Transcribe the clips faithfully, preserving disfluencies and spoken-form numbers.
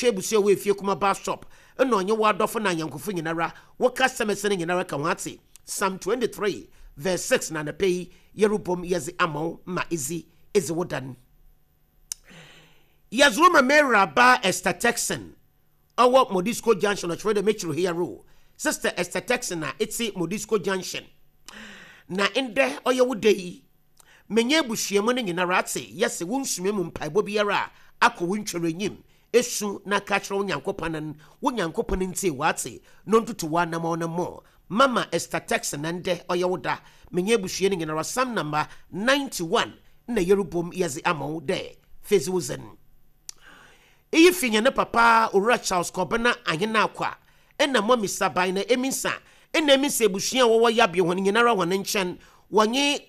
Otwa ebusua wɔ Efie Kuma bus stop, ɛna ɔnye w'adɔfo na anyankofo nyinara, wo customers no nyinara ka ho ate. Psalm twenty-three verse six na anapa yi yɛrebom yɛdze ama wo ma edzi edzi wo dan. Yɛdze ma Mary Esther Texan ɔwɔ Modisco Junction, ɔkyerɛ dɛ mekyerɛ here, Sister Esther Texan a ɛte Modisco Junction, na ndɛ ɔyɛ wo da yi, menye abusuamu no nyinara ate yɛsɛ wo nsuma mu mpaebɔ biara a akɔ wo ntwere enyim esu na ka kyerɛ wo Nyankopɔn no, wo Nyankopɔn ntie wate no ntoto wo anamɔ no mmɔ. Mama Esther Texan, na ndɛ ɔyɛ wo da, menye abusua no nyinara, Psalm number ninety-one na yɛrebom yɛdze ama wo dɛ fezi wo zen. Iyi fi nyɛ ne papa Owura Charles Kɔbena Ahena Akwa ɛna mɔmi Saban na Eminsa ɛna Eminsa abusua a wɔwɔ Yabea hɔn nyinara hɔn nkyɛn, wɔnye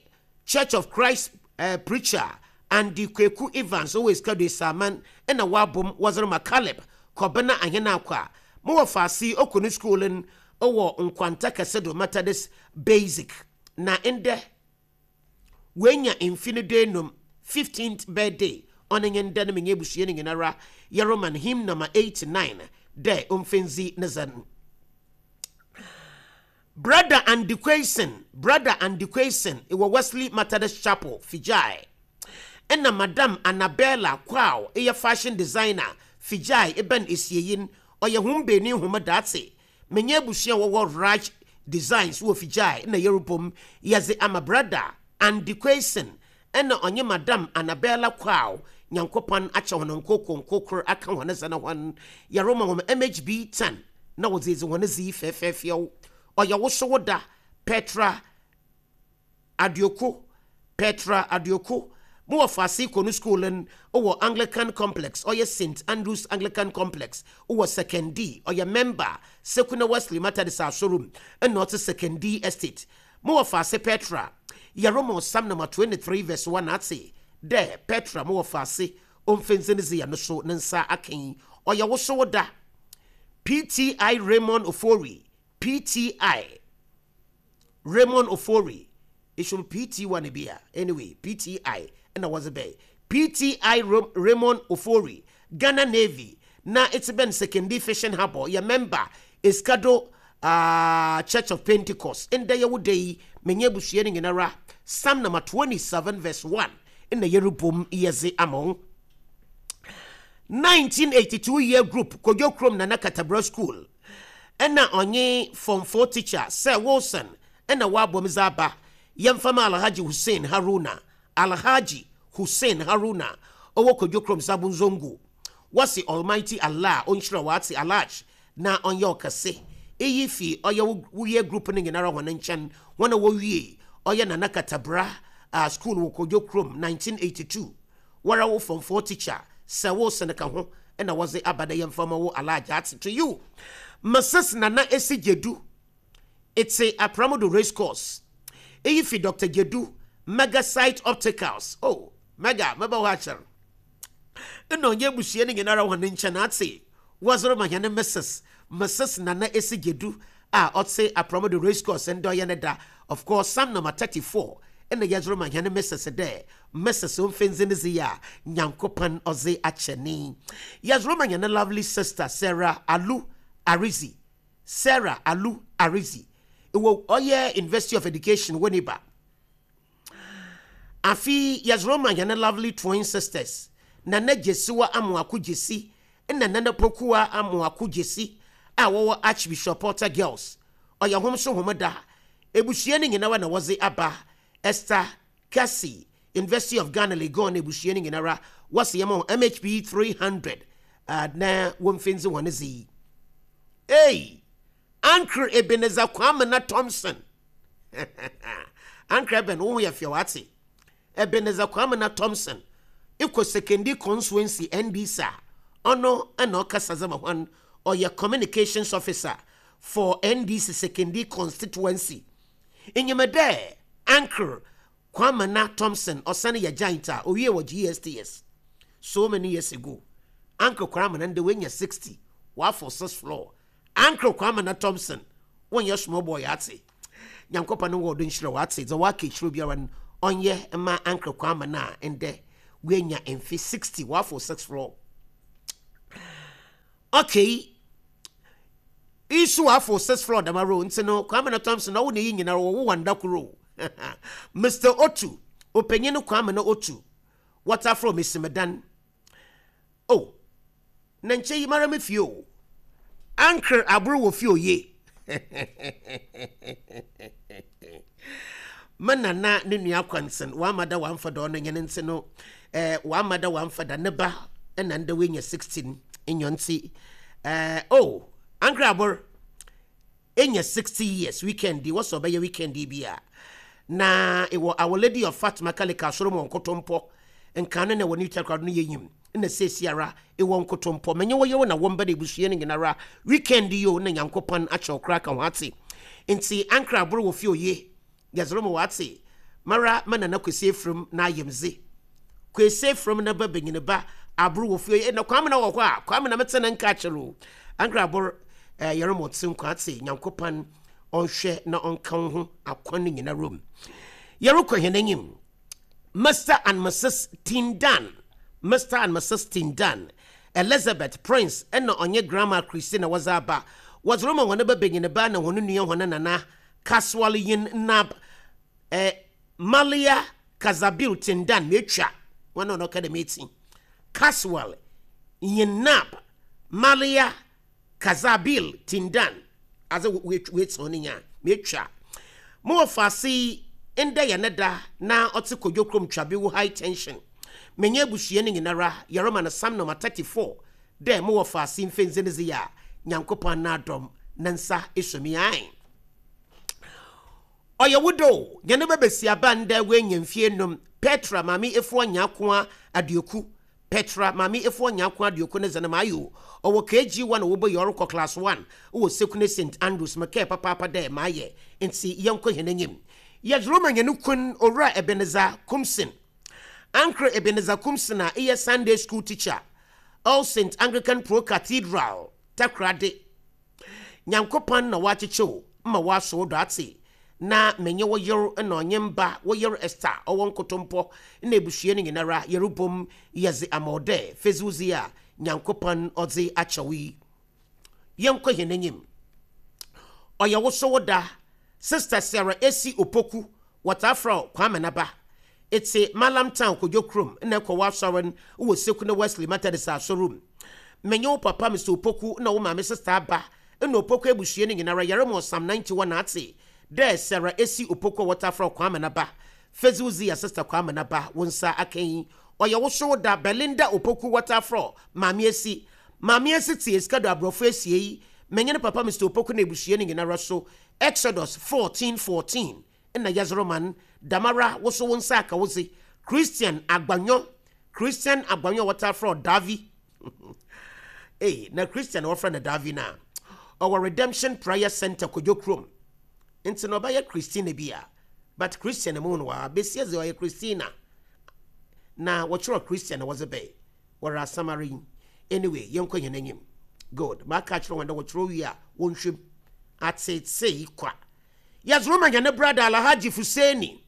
Church of Christ uh, preacher Andy Kweku Evans ɔwɔ Esikado Esaman ɛna wɔabom wɔdze ma Caleb Kɔbena Ahena Akwa mo wɔ faase okɔ ne school no ɔwɔ Nkwanta Kɛse do Methodist Basic, na ndɛ wenya mfe no do enum, fifteenth birthday ɔne nye ndɛ no. Menye abusua no nyinara yɛrema hymn number eighty-nine dɛ ɔmfɛnzi ne zɛn. Brother Andy Quayson, Brother Andy Quayson ɛwɔ Wesley Methodist Chapel Fijai, ɛna Madam Annabella Kwao ɛyɛ fashion designer Fijai ɛbɛn esieyin, ɔyɛ hom beenu hom daate. Menye abusua wɔwɔ Raj Designs wɔ Fijai na yɛrebom yɛdze ama Brother Andy Quayson ɛna ɔnye Madam Annabella Kwao. Nyankopɔn akyɛ hɔn nkoko nkokoro aka hɔn sɛ na hɔn yɛrema hɔn M H B ten na wɔdze edzi hɔn zi fɛɛfɛɛfɛw. Ɔyɛ wo so wo da. Petra Aduoko, Petra Aduoko mo wɔ faase kɔ no school no wɔ Anglican Complex, ɔyɛ Saint Andrews Anglican Complex wɔ Sekondi, ɔyɛ member Sekuna Wesley Methodist Asorum ɛna ɔte Sekondi Estate. Mo wɔ faase Petra, yɛrema Psalm number twenty-three verse one ate dɛ Petra mo wɔ faase ɔmfɛnse ne zi no so ne nsa akan. Ɔyɛ wo so wo da. P T I Raymond Ofori, P T I Raymond Ofori, it should be P T one bi a, anyway, P T I ɛna wɔdze bɛyɛ P T I Raymond Ofori, Ghana Navy, na it's been Sekondi Fishing Harbour, yɛ member Eskado uh, Church of Pentecost. Ndɛ yɛ wo da yi, menye abusua no nyinara, Psalm number twenty-seven verse one ɛna yɛrebom yɛdze ama wo. nineteen eighty-two year group, Kodwo Krom Nana Katabra School, ɛna ɔnye form four teacher Sir Wilson ɛna wabɔ dze aba. Yɛmfama Alhaji Hussein Haruna, Alhaji Hussein Haruna ɔwɔ Kodwo Krom Sabunzongo. Wɔsi Almighty Allah ɔnhyira wate Alhaj na ɔnyɛ ɔkɛse. Eyi fi ɔyɛ woyɛ group no nyinara wɔn nkyɛn, wɔn a wɔwie ɔyɛ Nana Katabra uh, school wɔ Kodwo Krom nineteen eighty-two. Wɔra wo form four teacher Sir Wilson ka ho ɛna wɔdze aba dɛ yɛmfama wo Alhaj ate. To you, Missus Nana Esi Gyedu, ete Apramodo Race Course. Eyi fi Doctor Gyedu, Megasite Opticals. Oh, Mega mɛbɛ hɔ akyɛr ɛna ɔnyɛ abusua no nyinara wɔ ne nkyɛn ate. Wɔsoro ma hɛne Missus Missus Nana Esi Gyedu a ɔte Apramodo Race Course, ndɛ ɔyɛ ne da. Of course, Psalm number thirty-four ɛna yɛsoro ma hɛne Missus dɛ Missus ɔmfɛnzi ne zi a Nyankopɔn ɔdze akyɛ ne. Yɛsoro ma hɛne lovely sister Sarah Alu Arizi, Sarah Alu Arizi ɛwɔ ɔyɛ University of Education wɔ niba. Afi yɛsoro ma hɛne lovely twin sisters Nana Gyesiwa Amoako Gyesi ɛna Nana Pokuwa Amoako Gyesi a wɔwɔ Archbishop Porter Girls. Ɔyɛ hom so hom da. Ebusua no nyinara na wɔdze aba. Esther Cassie, University of Ghana Legon, ebusua no nyinara wɔsi yɛn mo M H B three hundred uh, na wɔmfɛnzi wɔn dze. Hey, Uncle Ebenezer Kwamena Thompson, Uncle Eben, wo ho yɛ fɛ wate. Ebenezer Kwamena Thompson ikɔ Sekondi Constituency N D C a ɔno ɛna ɔkasa dze ma hɔn, ɔyɛ communications officer for N D C Sekondi Constituency. Enyim dɛ Uncle Kwamena Thompson ɔsane yɛ giant a owie wɔ G S T S so many years ago. Uncle Kwamena ndɛ wenya sixty, wafɔ six floor. Uncle Kwamena Thompson wonyɛ small boy ate. Nyankopɔn no wɔ do nhyira wate dza waka ekyirɛ biara no ɔnyɛ ma Uncle Kwamena a ndɛ wenya mfe sixty, wafɔ six floor. Okay, isu afo six floor dama row nti no, Kwame na Thompson ɔwo ne yi nyinara wɔwo wanda koro. Mister Otu, ɔpanyin Kwame na Otu, wɔtaforo mesimedan oh, na nkyɛn yi mara me fie o. Ankr aboro wɔ fie oye. Me nana ne nua kwansen wama da wamfa da ɔno nyɛ ne nti no, eh, wama da wamfa da ne ba ɛna ndɛ wenya sixteen nyɔ nti, eh, oh, ankr aboro enya sixty years weekend wɔsɔ ɔbɛyɛ weekend bi a na ɛwɔ Our Lady of Fatima Kalika asɔrɔ mu nkotompɔ nkane na wɔ ne takra no yɛnyim na seesiara ɛwɔ nkotompɔ menye wo yewo na wɔmba de ebusua no nyinara weekend yi o, na Nyankopɔn akyɛw kora ka ho ate. Nti ankra aboro wɔ fie oye yɛzoro mo wate mara ma nana Kwesi Efirim na ayɛmze Kwesi Efirim na ba banyini ba aboro wɔ fie oye na Kwame na wɔ hɔ a Kwame na mete ne nka akyerɛ o. Ankra aboro, eh, yɛrɛ mo te nkwa ate. Nyankopɔn ɔnhwɛ na ɔnka wo ho akwan no nyinara mu. Yɛrekɔ hɛn anim. Mister and Missus Tindan, Mister and Missus Tindan, Elizabeth Prince ɛna ɔnye Grandma Christina wɔdze aba. Wɔdze rema hɔn ba banyin ba na hɔn nua hɔn nana Casual Yin Nab, eh, Malia Kazabil Tindan. Metwa wɔn a ɔka dɛm eti Casual Yin Nab Malia Kazabil Tindan adze wetsi hɔn nya metwa mo wɔ faase ndɛ yɛ ne da na ɔte Kodwo kurom Twabewu high tension. Menye abusua no nyinara yɛrema no Psalm number thirty-four dɛ mo wɔ faase mfenze ne dze yɛ a Nyankopɔn n'adɔm ne nsa esumi ae. Ɔyɛ wo do nyane bɛbɛsi aba ndɛ woanya mfie num. Petra Maame Efuo Nyakoa Aduoku, Petra Maame Efuo Nyakoa Aduoku ne zene maayo ɔwɔ K G one wɔbɔ yɛ ɔrekɔ class one wɔ Sekune Saint Andrews. Mekɛɛ papaapa dɛ maayɛ nti yɛnkɔ hɛn anim. Yɛdze ma nyane kun Owura Ebenezer Kumsin, Ankre Ebenezer Kumsin a ɛyɛ Sunday school teacher, All Saint Anglican Pro Cathedral, Takoradi. Nyankopɔn na wakyekyew ma waso do ate na menye wo yer na ɔnye mba wo yer Esther ɔwɔ nkotompɔ na ebusua no nyinara yɛrebom yɛdze ama wo dɛ feziwzi a Nyankopɔn ɔdze akyɛw yi. Yɛnkɔ hɛn anim. Ɔyɛ wo so wo da. Sister Sarah Esi Opoku, wɔtafrɛ Kwame Naba, ete Malam Town, Kodwo kurom na ɛkɔ w'asɔre no wɔ Sekune Wesley Methodist asɔre mu. Menye wo papa Mister Opoku na wo maame Sister Aba na Opoku abusua no nyinara yɛrema Psalm ninety-one ate dɛ Sarah Esi Opoku a wɔtafrɛ Kwame Naba feziwzi ya Sister Kwame Naba wo nsa aka yi. Ɔyɛ wo so da. Belinda Opoku, wɔtafrɛ Maame Esi, Maame Esi te esika do aborɔfo esie yi. Menye ne papa Mister Opoku na ebusua no nyinara so Exodus fourteen fourteen na yɛzoro damara wo so wo nsa aka wo se Christian Agbanyo, Christian Agbanyo a wɔtafrɛ Davi. Hey, na Christian wɔfrɛ no Davi na ɔwɔ Redemption Prayer Center, Kodwo kurom nti na ɔbɛyɛ Christina bi a, but Christian mu no wa besia dze ɔyɛ Christina na wɔkyerɛ Christian na wɔdze bɛyɛ wɔrɛ asamare yi. Anyway, yɛnkɔ yɛn anim. Good, maka kyerɛ wɔn dɛ wɔkyerɛ wie a wɔnhwɛm atete kwa. Yɛdze ma yɛn brother Alhaji Fuseni,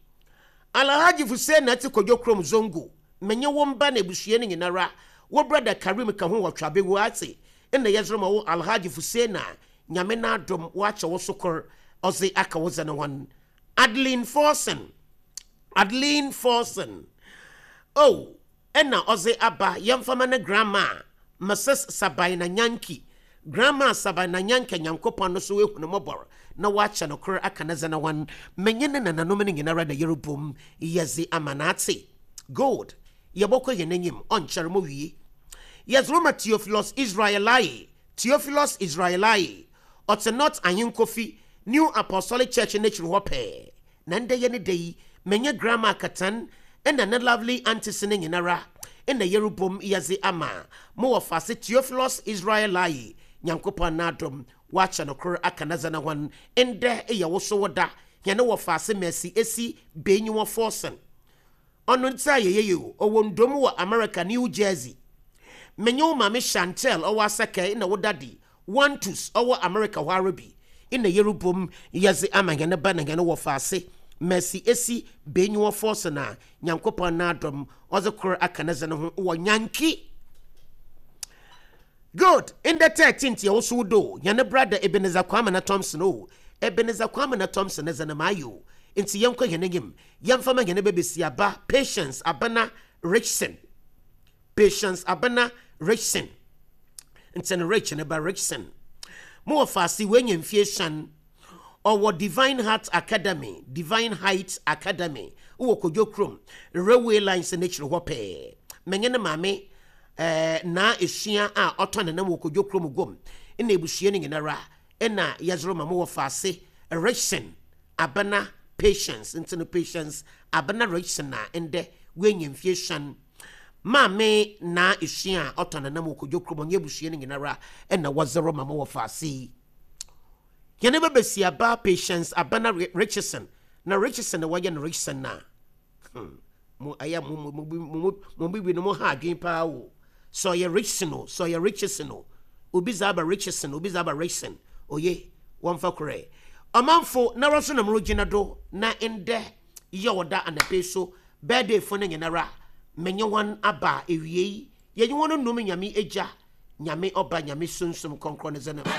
Alhaji Fuseni ate Kodwo kurom Zongo. Menye wo mba na ebusua no nyinara, wo brother Karim ka ho wɔ Twabewu ate ɛna yɛdze ma wo Alhaji Fuseni a Nyame n'adom wakyɛ wo so kor ɔdze aka wo dze ne hɔn. Adeline Forson, Adeline Forson, oh, ɛna ɔdze aba yɛmfama ne grandma Missus Sabina Nyanki, Grandma Sabina Nyanka. Nyankopɔn no so ehu no mmɔbɔr na wakyɛ no kor aka ne dze ne hɔn. Menye ne nananom no nyinara na yɛrebom yɛdze ama n'ate. Good, yɛbɔkɔ yɛn anim, ɔnkyɛre mo wie. Yɛdze roma Theophilus Israelai, Theophilus Israelai ɔte North Ahenkofi New Apostolic Church n'akyiri hɔ pɛɛ na ndɛ yɛ ne da yi. Menye Grandma Katan ɛna ne lovely aunties ne nyinara ɛna yɛrebom yɛdze ama mo wɔ faase Theophilus Israelai. Nyankopɔn n'adom wakyɛ no kor aka ne dze ne hɔn. Ndɛ yɛ wo so wo da. Yɛne wɔ faase Mercy Esi Benyiwɔ Forson, ɔno nti a yɛyɛ yi o, ɔwɔ ndom wɔ America, New Jersey. Menye wo maame Chantel ɔwɔ Asɛkɛ na wo daddy Wantus ɔwɔ America hɔ ara bi ɛna yɛrebom yɛdze ama hɛn ba na hɛn wɔ faase Mercy Esi Benyiwɔ Forson a Nyankopɔn n'adom ɔdze kor aka ne dze ne ho wɔ Nyanki. Good. In the thirteenth yɛ woso do yɛne brother Ebenezer Kwame na Thompson o, Ebenezer Kwame na Thompson ne zɛnɛ maa yi o. Nti yɛnkɔ yɛn anim, yɛmfa ma yɛn bɛbɛsi aba Patience Abena Richson, Patience Abena Richson. Nti no Rich ne ba Richson mo wɔ faase wɔanya mfie hyɛn, ɔwɔ Divine Heart Academy, Divine Height Academy wɔ Kodwo Kurom railway lines n'akyiri hɔ pɛɛ. Mɛnyɛ ne maame ɛɛ naa esua a ɔtɔ ne nam wɔ Kodwo Kurom guom ɛna ebusua no nyinara ɛna yɛzoro ma mo wɔ faase Richson Abena Patience. Nti no Patience Abena Richson a ndɛ wɔanya mfie hyɛn, maame naa esua a ɔtɔ ne nam wɔ Kodwo Kurom, ɔnyɛ ebusua no nyinara ɛna wɔzoro ma mo wɔ faase yi. Yɛne bɛbɛsi aba Patience Abena Richardson na Richardson na wɔyɛ no Richardson na hmm. Mo ɛyɛ mo mo mo mo mo bibi no mo ha adwene paa o. Sɛ ɔyɛ Richardson o, sɛ ɔyɛ Richardson o, obi za aba Richardson, obi za aba Richardson, oye wɔmfa korɛ ɔmanfo na wɔso na mo gyina do na ndɛ yɛ ɔda anapɛ so birthday fo no nyinara menye wɔn aba ewie yi, yɛnye wɔn num Nyame Agya, Nyame Ɔba, Nyame Sunsum Kɔnkrɔn ne zɛnɛ.